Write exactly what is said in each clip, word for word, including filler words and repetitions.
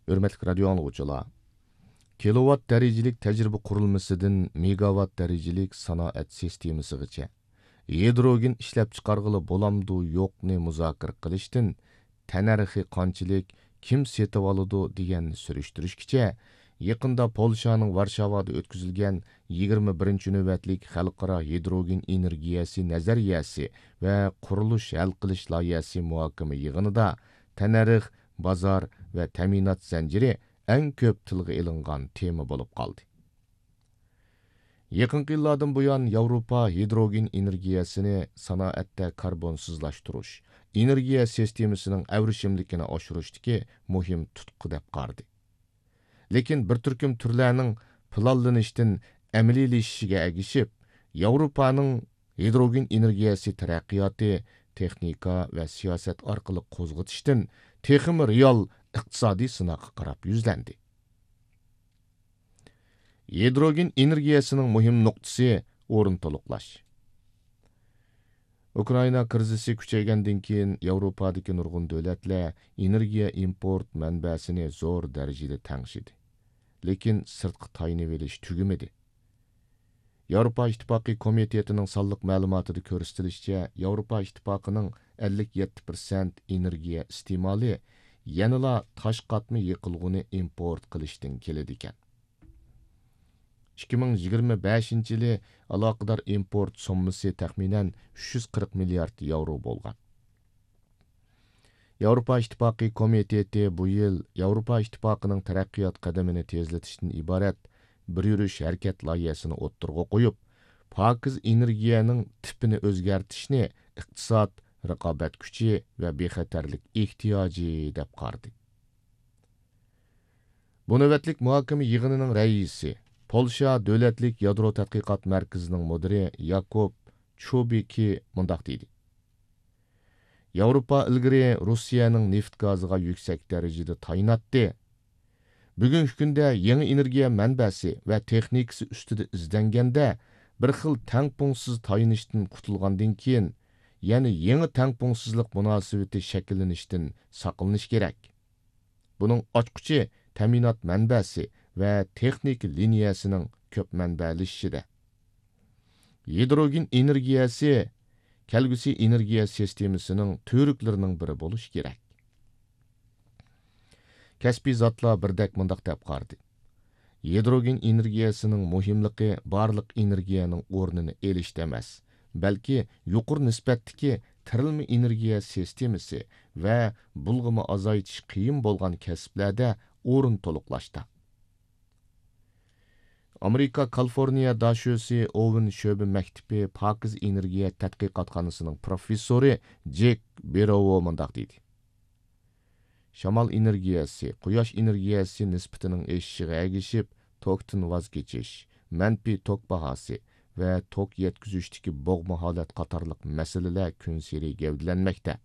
ھۆرمەتلىك رادىيو ئاڭلىغۇچىلار، كىلوۋات دەرىجىلىك تەجرىبە قۇرۇلمىسىدىن مېگاۋات دەرىجىلىك سانائەت سىستېمىسىغىچە ھىدروگېن ئىشلەپچىقارغىلى بولامدۇ يوقنى مۇزاكىرە قىلىشتىن، تەننەرخى قانچىلىك، كىم سېتىۋالىدۇ دېگەننى سۈرۈشتۈرۈشكىچە، يېقىندا پولشانىڭ ۋارشاۋادا ئۆتكۈزۈلگەن يىگىرمە بىرىنچى نۆۋەتلىك خەلقئارا ھىدروگېن ئېنېرگىيەسى نەزەرىيەسى ۋە قۇرۇلۇش ھەل قىلىش لايىھەسى مۇھاكىمە يىغىنىدا تەننەرخ، بازار ۋە تەمىنات زەنجىرى ئەڭ كۆپ تىلغا ئېلىنغان تېما بولۇپ قالدى. يېقىنقى يىللاردىن بۇيان، ياۋروپا ھىدروگېن ئېنېرگىيەسىنى سانائەتتە كاربونسىزلاشتۇرۇش، ئېنېرگىيە سىستېمىسىنىڭ ئەۋرىشىملىكىنى ئاشۇرۇشتىكى مۇھىم تۇتقا دەپ قارىدى. لېكىن بىر تۈركۈم تۈرلەرنىڭ پىلانلىنىشتىن ئەمەلىيلىشىشىگە ئەگىشىپ، ياۋروپانىڭ ھىدروگېن ئېنېرگىيەسى تەرەققىياتى تېخنىكا ۋە سىياسەت ئارقىلىق قوزغىتىشتىن تېخىمۇ رېئال ئىقتىسادىي سىناققا قاراپ يۈزلەندى. ھىدروگېن ئېنېرگىيەسىنىڭ مۇھىم نۇقتىسى، ئورۇن تولۇقلاش. ئۇكرائىنا كىرىزىسى كۈچەيگەندىن كېيىن، ياۋروپادىكى نۇرغۇن دۆلەتلەر ئېنېرگىيە ئىمپورت مەنبەسىنى زور دەرىجىدە تەڭشىدى. لېكىن سىرتقا تايىنىۋېلىش تۈگىمىدى. ياۋروپا ئىتتىپاقى كومىتېتىنىڭ سانلىق مەلۇماتىدا كۆرسىتىلىشىچە، ياۋروپا ئىتتىپاقىنىڭ ئەللىك يەتتە پىرسەنت ئېنېرگىيە ئىستېمالى يەنىلا تاش قاتما يېقىلغۇنى ئىمپورت قىلىشتىن كېلىدىكەن. ئىككى مىڭ يىگىرمە بەشىنچى يىلى ئالاقىدار ئىمپورت سوممىسى تەخمىنەن ئۈچ يۈز قىرىق مىليارد ياۋرو بولغان. ياۋروپا ئىتتىپاقى كومىتېتى بۇ يىل ياۋروپا ئىتتىپاقىنىڭ تەرەققىيات قەدىمىنى تېزلىتىشتىن ئىبارەت بىر يۈرۈش ھەرىكەت لايىھەسىنى ئوتتۇرىغا قويۇپ، پاكىز ئېنېرگىيەنىڭ تىپىنى ئۆزگەرتىشنى ئىقتىساد، رىقابەت كۈچى ۋە بىخەتەرلىك ئېھتىياجى دەپ قارىدى. بۇ نۆۋەتلىك مۇھاكىمە يىغىنىنىڭ رەئىسى، پولشا دۆلەتلىك يادرو تەتقىقات مەركىزىنىڭ مۇدىرى ياكوب چوبىكى مۇنداق دېدى: ياۋروپا ئىلگىرى روسىيەنىڭ نېفىت گازىغا يۈكسەك دەرىجىدە تايىناتتى. بۈگۈنكى كۈندە يېڭى ئېنېرگىيە مەنبەسى ۋە تېخنىكىسى ئۈستىدە ئىزدەنگەندە، بىر خىل تەڭپۇڭسىز تايىنىشتىن قۇتۇلغاندىن كېيىن، يەنە يېڭى تەڭپۇڭسىزلىق مۇناسىۋىتى شەكىللىنىشتىن ساقلىنىش كېرەك. بۇنىڭ ئاچقۇچى تەمىنات مەنبەسى ۋە تېخنىكا لىنىيەسىنىڭ كۆپ مەنبەلىشىشىدە. ھىدروگېن ئېنېرگىيەسى كەلگۈسى ئېنېرگىيە سىستېمىسىنىڭ تۈۋرۈكلىرىنىڭ بىرى بولۇشى كېرەك. كەسپىي زاتلار بىردەك مۇنداق دەپ قارىدى: يادروگېن ئېنېرگىيەسىنىڭ مۇھىملىقى بارلىق ئېنېرگىيەنىڭ ئورنىنى ئېلىشتا ئەمەس، بەلكى يۇقىرى نىسبەتتىكى تىرىلما ئېنېرگىيە سىستېمىسى ۋە بۇلغىما ئازايتىش قىيىن بولغان كەسىپلەردە ئورۇن تولۇقلاشتا. ئامېرىكا كالىفورنىيە داشۆسى ئوۋېن شۆبە مەكتىپى پاكىز ئېنېرگىيە تەتقىقاتخانىسىنىڭ پروفېسسورى جېك بېروۋو مۇنداق دېدى: شامال ئېنېرگىيەسى، قۇياش ئېنېرگىيەسى نىسبىتىنىڭ ئېشىشىغا ئەگىشىپ، توكتىن ۋاز كېچىش، مەنپىي توك باھاسى ۋە توك يەتكۈزۈشتىكى بوغما ھالەت قاتارلىق مەسىلىلەر كۈنسېرى گەۋدىلەنمەكتە.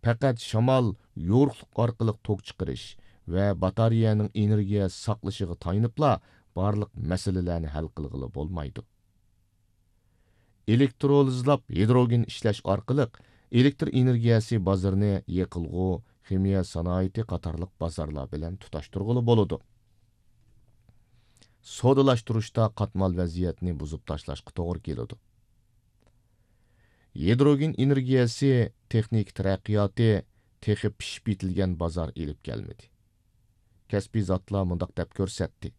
پەقەت شامال، يورۇقلۇق ئارقىلىق توك چىقىرىش ۋە باتارېيەنىڭ ئېنېرگىيە ساقلىشىغا تايىنىپلا بارلىق مەسىلىلەرنى ھەل قىلغىلى بولمايدۇ. ئېلېكترولىزلاپ ھىدروگېن ئىشلەش ئارقىلىق ئېلېكتر ئېنېرگىيەسى بازىرىنى يېقىلغۇ، خىمىيە سانائىتى قاتارلىق بازارلار بىلەن تۇتاشتۇرغىلى بولىدۇ. سودىلاشتۇرۇشتا قاتمال ۋەزىيەتنى بۇزۇپ تاشلاشقا توغرا كېلىدۇ. ھىدروگېن ئېنېرگىيەسى تېخنىكا تەرەققىياتى تېخى پىشىپ يېتىلگەن بازار ئېلىپ كەلمىدى. كەسپىي زاتلار مۇنداق دەپ كۆرسەتتى: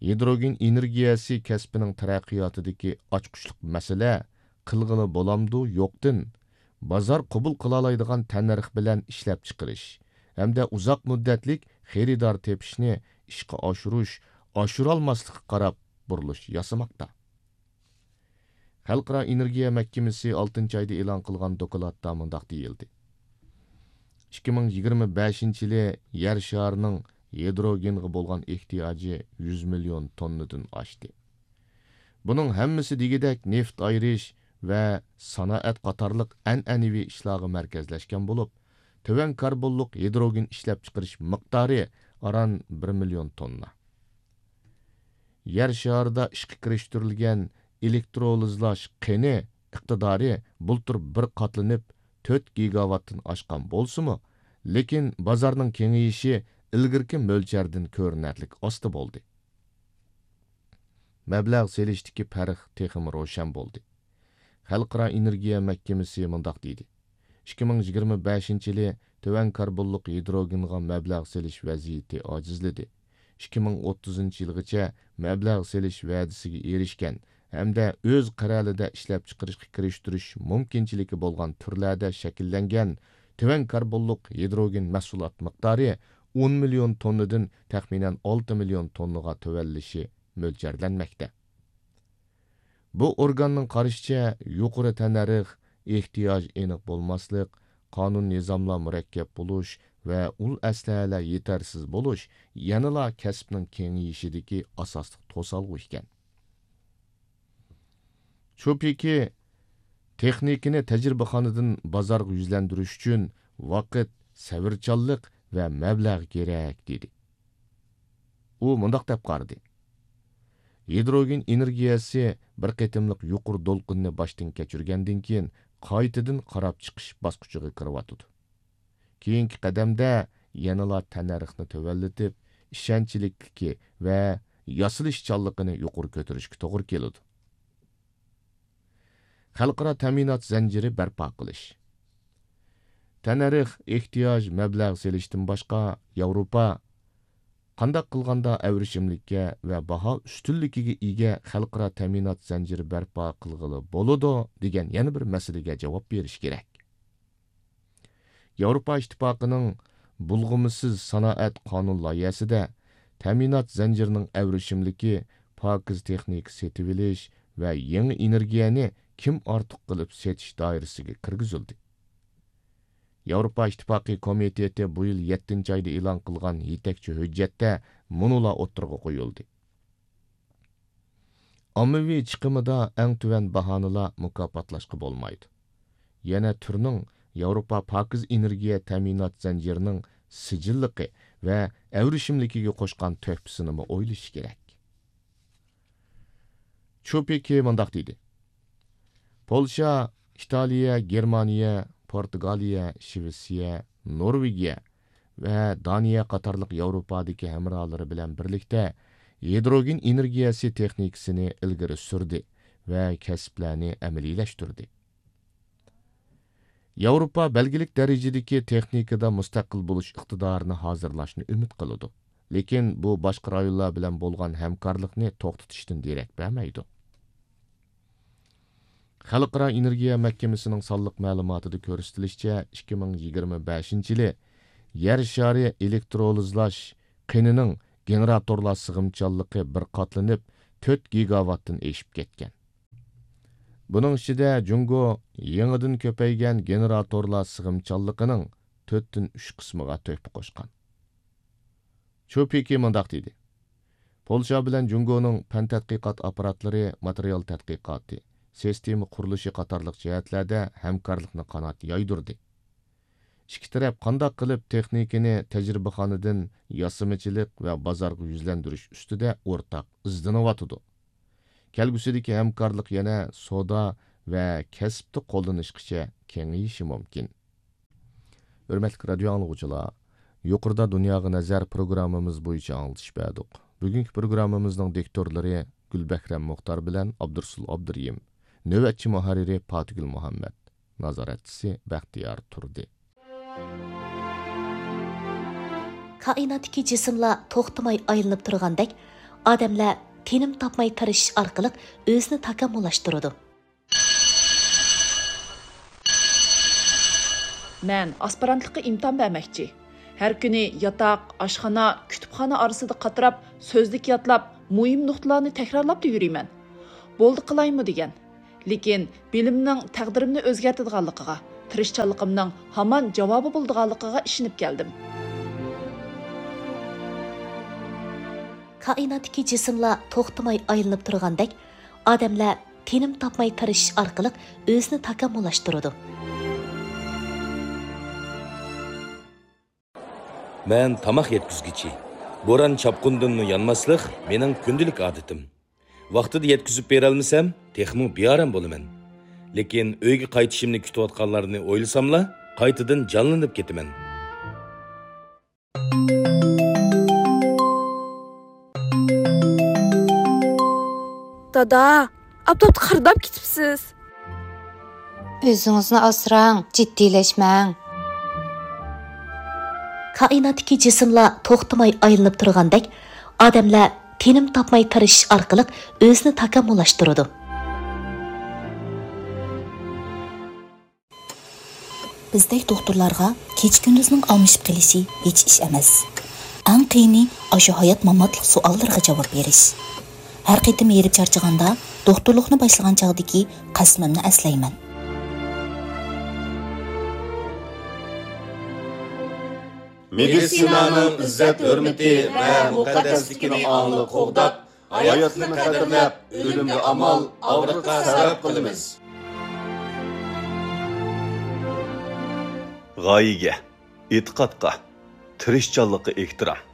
ھىدروگېن ئېنېرگىيەسى كەسپىنىڭ تەرەققىياتىدىكى ئاچقۇچلۇق مەسىلە، قىلغىلى بولامدۇ يوقتىن، بازار قوبۇل قىلالايدىغان تەننەرخ بىلەن ئىشلەپچىقىرىش ھەمدە ئۇزاق مۇددەتلىك خېرىدار تېپىشنى ئىشقا ئاشۇرۇش، ئاشۇرالماسلىققا قاراپ بۇرۇلۇش ياسىماقتا. خەلقئارا ئېنېرگىيە مەھكىمىسى ئالتىنچى ئايدا ئېلان قىلغان دوكلاتتا مۇنداق دېيىلدى: ئىككى مىڭ يىگىرمە بەشىنچى يىلى يەر شارىنىڭ ھىدروگېنغا بولغان ئېھتىياجى يۈز مىليون توننىدىن ئاشتى. بۇنىڭ ھەممىسى دېگۈدەك نېفىت ئايرىش ۋە سانائەت قاتارلىق ئەنئەنىۋى ئىشلارغا مەركەزلەشكەن بولۇپ، تۆۋەن كاربونلۇق ھىدروگېن ئىشلەپچىقىرىش مىقدارى ئاران بىر مىليون توننا. يەر شارىدا ئىشقا كىرىشتۈرۈلگەن ئېلېكترولىزلاش قېنى ئىقتىدارى بۇلتۇر بىر قاتلىنىپ، تۆت گىگاۋاتتىن ئاشقان بولسىمۇ، لېكىن بازارنىڭ كېڭىيىشى ئىلگىرىكى مۆلچەردىن كۆرۈنەرلىك ئاستا بولدى. مەبلەغ سېلىشتىكى پەرق تېخىمۇ روشەن بولدى. خەلقئارا ئېنېرگىيە مەھكىمىسى مۇنداق دېدى: «ئىككى مىڭ يىگىرمە بەشىنچى يىلى تۆۋەن كاربونلۇق ھىدروگېنغا مەبلەغ سېلىش ۋەزىيىتى ئاجىزلىدى. ئىككى مىڭ ئوتتۇزىنچى يىلغىچە مەبلەغ سېلىش ۋەدىسىگە ئېرىشكەن ھەمدە ئۆز قەرەلىدە ئىشلەپچىقىرىشقا كىرىشتۈرۈش مۇمكىنچىلىكى بولغان تۈرلەردە شەكىللەنگەن تۆۋەن كاربونلۇق ھىدروگېن مەھسۇلات مىقدارى ئون مىليون توننىدىن تەخمىنەن ئالتە مىليون توننىغا تۆۋەنلىشى مۆلچەرلەنمەكتە.» بۇ ئورگاننىڭ قارىشىچە، يۇقىرى تەننەرخ، ئېھتىياج ئېنىق بولماسلىق، قانۇن-نىزاملار مۇرەككەپ بولۇش ۋە ئۇل ئەسلىھەلەر يېتەرسىز بولۇش يەنىلا كەسىپنىڭ كېڭىيىشىدىكى ئاساسلىق توسالغۇ ئىكەن. چۇ پېكى تېخنىكىنى تەجرىبىخانىدىن بازارغا يۈزلەندۈرۈش ئۈچۈن ۋاقىت، سەۋرچانلىق ۋە مەبلەغ كېرەك، دېدى. ئۇ مۇنداق دەپ قارىدى: «ھىدروگېن ئېنېرگىيەسى بىر قېتىملىق يۇقىرى دولقۇننى باشتىن كەچۈرگەندىن كېيىن، قايتىدىن قاراپ چىقىش باسقۇچىغا كىرىۋاتىدۇ. كېيىنكى قەدەمدە يەنىلا تەننەرخنى تۆۋەنلىتىپ، ئىشەنچلىكلىكى ۋە ياسىلىشچانلىقىنى يۇقىرى كۆتۈرۈشكە توغرا كېلىدۇ.» خەلقئارا تەمىنات زەنجىرى بەرپا قىلىش. تەننەرخ، ئېھتىياج، مەبلەغ سېلىشتىن باشقا، ياۋروپا قانداق قىلغاندا ئەۋرىشىملىككە ۋە باھا ئۈستۈنلۈكىگە ئىگە خەلقئارا تەمىنات زەنجىرى بەرپا قىلغىلى بولىدۇ دېگەن يەنە بىر مەسىلىگە جاۋاب بېرىش كېرەك. ياۋروپا ئىتتىپاقىنىڭ بۇلغىمىسىز سانائەت قانۇن لايىھەسىدە تەمىنات زەنجىرىنىڭ ئەۋرىشىملىكى، پاكىز تېخنىكا سېتىۋېلىش ۋە يېڭى ئېنېرگىيەنى كىم ئارتۇق قىلىپ سېتىش دائىرىسىگە كىرگۈزۈلدى. ياۋروپا ئىتتىپاقى كومىتېتى بۇ يىل يەتتىنچى ئايدا ئېلان قىلغان يېتەكچى ھۆججەتتە مۇنۇلار ئوتتۇرىغا قويۇلدى. ئاممىۋى چىقىمىدا ئەڭ تۆۋەن باھانىلا مۇكاپاتلاشقا بولمايدۇ. يەنە تۈرنىڭ ياۋروپا پاكىز ئېنېرگىيە تەمىنات زەنجىرىنىڭ سىجىللىقى ۋە ئەۋرىشىملىكىگە قوشقان تۆھپىسىنىمۇ ئويلىشى كېرەك. چۇ پېكى مۇنداق دېدى: «پولشا، ئىتالىيە، گېرمانىيە، پورتۇگالىيە، شىۋېتسىيە، نورۋېگىيە ۋە دانىيە قاتارلىق ياۋروپادىكى ھەمراھلىرى بىلەن بىرلىكتە ھىدروگېن ئېنېرگىيەسى تېخنىكىسىنى ئىلگىرى سۈردى ۋە كەسىپلەرنى ئەمەلىيلەشتۈردى.» ياۋروپا بەلگىلىك دەرىجىدىكى تېخنىكىدا مۇستەقىل بولۇش ئىقتىدارىنى ھازىرلاشنى ئۈمىد قىلىدۇ، لېكىن بۇ باشقا رايونلار بىلەن بولغان ھەمكارلىقنى توختىتىشتىن دېرەك بەرمەيدۇ. خەلقئارا ئېنېرگىيە مەھكىمىسىنىڭ سانلىق مەلۇماتىدا كۆرسىتىلىشىچە، ئىككى مىڭ يىگىرمە بەشىنچى يىلى يەر شارى ئېلېكترولىزلاش قېنىنىڭ گېنېراتورلار سىغىمچانلىقى بىر قاتلىنىپ، تۆت گىگاۋاتتىن ئېشىپ كەتكەن. بۇنىڭ ئىچىدە جۇڭگو يېڭىدىن كۆپەيگەن گېنېراتورلار سىغىمچانلىقىنىڭ تۆتتىن ئۈچ قىسمىغا تۆھپە قوشقان. چۇ پېكى مۇنداق دېدى: «پولشا بىلەن جۇڭگونىڭ پەن تەتقىقات ئاپپاراتلىرى، ماتېرىيال تەتقىقاتى، سىستېما قۇرۇلۇشى قاتارلىق جەھەتلەردە ھەمكارلىقنى قانات يايدۇردى. ئىككى تەرەپ قانداق قىلىپ تېخنىكىنى تەجرىبىخانىدىن ياسىمىچىلىق ۋە بازارغا يۈزلەندۈرۈش ئۈستىدە ئورتاق ئىزدىنىۋاتىدۇ. كەلگۈسىدىكى ھەمكارلىق يەنە سودا ۋە كەسىپتە قوللىنىشقىچە كېڭىيىشى مۇمكىن.» ھۆرمەتلىك رادىيو ئاڭلىغۇچىلار، يۇقىرىدا دۇنياغا نەزەر پروگراممىمىز بويىچە ئاڭلىتىش بەردۇق. بۈگۈنكى پروگراممىمىزنىڭ دىكتورلىرى گۈلبەھرەم مۇختار بىلەن ئابدۇرۇسۇل ئابدۇرېھىم. نۆۋەتچى مۇھەررىرى پاتىگۈل مۇھەممەد. نازارەتچىسى بەختىيار تۇردى. كائىناتتىكى جىسىملار توختىماي ئايلىنىپ تۇرغاندەك، ئادەملەر تىنىم تاپماي تىرىشىش ئارقىلىق ئۆزىنى تاكامۇللاشتۇرىدۇ. مەن ئاسپىرانتلىققا ئىمتىھان بەرمەكچى. ھەر كۈنى ياتاق، ئاشخانا، كۇتۇپخانا ئارىسىدا قاتراپ، سۆزلۈك يادلاپ، مۇھىم نۇقتىلارنى تەكرارلاپلا يۈرىمەن. بولدى قىلايمۇ دېگەن. لېكىن بىلىمنىڭ تەقدىرىمنى ئۆزگەرتىدىغانلىقىغا، تىرىشچانلىقىمنىڭ ھامان جاۋابى بولىدىغانلىقىغا ئىشىنىپ كەلدىم. كائىناتتىكى جىسىملار توختىماي ئايلىنىپ تۇرغاندەك، ئادەملەر تىنىم تاپماي تىرىشىش ئارقىلىق ئۆزىنى تاكامۇللاشتۇرىدۇ. مەن تاماق يەتكۈزگۈچى. بوران-چاپقۇندىنمۇ يانماسلىق مېنىڭ كۈندىلىك ئادىتىم. ۋاقتىدا يەتكۈزۈپ بېرەلمىسەم، تېخىمۇ بىئارام بولىمەن. لېكىن ئۆيگە قايتىشىمنى كۈتۈۋاتقانلارنى ئويلىساملا، قايتىدىن جانلىنىپ كېتىمەن. دادا، ئاپتاپتا قىرداپ كېتىپسىز. ئۆزىڭىزنى ئاسراڭ، جىددىيلەشمەڭ. كائىناتتىكى جىسىملار توختىماي ئايلىنىپ تۇرغاندەك، ئادەملەر تىنىم تاپماي تىرىشىش ئارقىلىق ئۆزىنى تاكامۇللاشتۇرىدۇ. بىزدەك دوختۇرلارغا كېچە-كۈندۈزنىڭ ئالمىشىپ قېلىشى ھېچ ئىش ئەمەس. ئەڭ قىيىنى ئاشۇ ھايات-ماماتلىق سوئاللىرىغا جاۋاب بېرىش. ھەر قېتىم ھېرىپ چارچىغاندا، دوختۇرلۇقنى باشلىغان چاغدىكى قەسىمىمنى ئەسلەيمەن. مېدىتسىنانىڭ ئىززەت-ھۆرمىتى ۋە مۇقەددەسلىكىنى ئاڭلىق قوغداپ، ھاياتلىقنى قەدىرلەپ، ئۆلۈمگە ئامال، ئاغرىققا سەۋەب قىلىمىز. غايىگە، ئېتىقادقا، تىرىشچانلىققا ئېھتىرام.